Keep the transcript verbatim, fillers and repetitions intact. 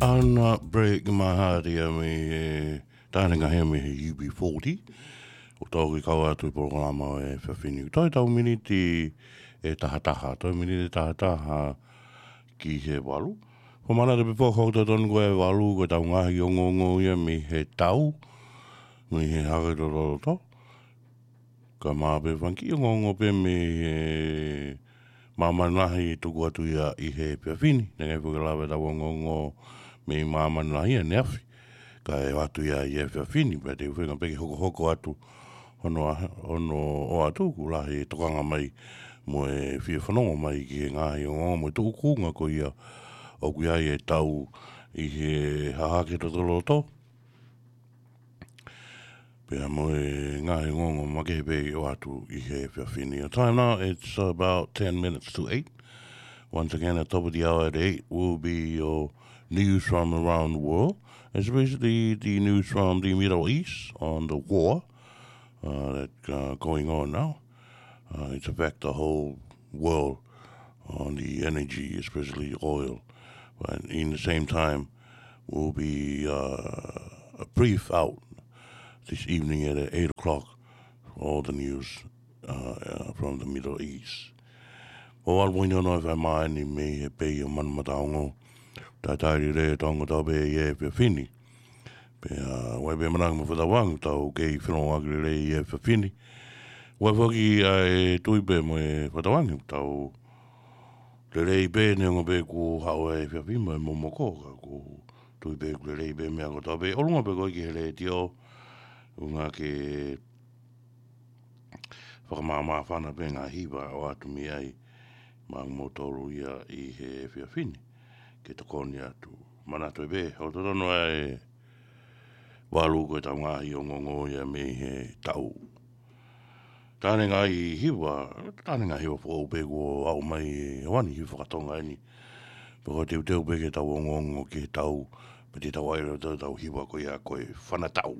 Ana break mahari a me he tāne ngahia me he U B forty. ʻO tau ki kau atu i polokalama ʻo e efiafi ni. Toe tau miniti ʻe tahataha. Toe miniti ʻe tahataha ki he valu. Ko mana te pifo kau totonu ko e valu ko e tau ngaahi ongoongo ia me he tau. Me he hake totoloto. Ka mā pē fanga kiʻi ongoongo pē me he māmani lahi tuku atu ia ʻi he efiafi ni. Naʻe ʻikai foki lava ʻetau ongoongo mei māmani lahi ʻaneafi. Ka ʻe ʻoatu ia ʻi he efiafi ni, pea te u feinga pē ke hokohoko atu hono, hono ʻoatu kuo lahi e tokanga mai mo e fie fanongo mai ki he ngaahi ongoongo mo e tuʻunga ko ia ʻoku ʻi ai e tau ʻi he hahake totoloto. Pea mo e ngaahi ongoongo makehe pē ʻoatu ʻi he efiafi ni. Our time now, it's about ten minutes to eight. Once again, at top of the hour at eight will be your news from around the world, especially the news from the Middle East on the war, uh, that, uh, going on now. Uh, it's affect the whole world on the energy, especially oil. But in the same time, will be, uh, a brief out this evening at eight o'clock for all the news, uh, uh, from the Middle East. ʻO ʻalu poini ono e fai mai ni mei he pei ʻo Manu Mataongo. Tātai lelei e tau ongo tau pē ʻi he efiafi ni. Pea, ʻoku ʻi ai pē mananga mo e fakatauange, tau kei fanongo ʻaki lelei ʻi he efiafi ni. ʻOku ʻi ai foki ʻa e tui pē mo e fakatauange, tau lelei pē neongo pē kuo haʻu e efiafi mo e momoko, ka ʻoku tui pē kuo lelei pē meʻa ko tau pē ʻolunga pē ko ē ki he letiō, ʻuhinga ke fakamāmāfana pē ngaahi hiva ʻoatu mei ai maʻa moutolu ia ʻi he efiafi ni. Ke tokoni atu. Manatu pē, ʻoku totonu ʻa e valu ko e tau ngaahi ongoongo ia mei he tau. Tāne ngaahi hiva, tāne ngaahi hiva foʻou pē kuo aʻu mai e wani hiva fakatonga eni. Pea ko e teuteu pē ke tau ongoongo ki he tau, pea te tau ʻai leva tau hiva ko ia ko e fana tau.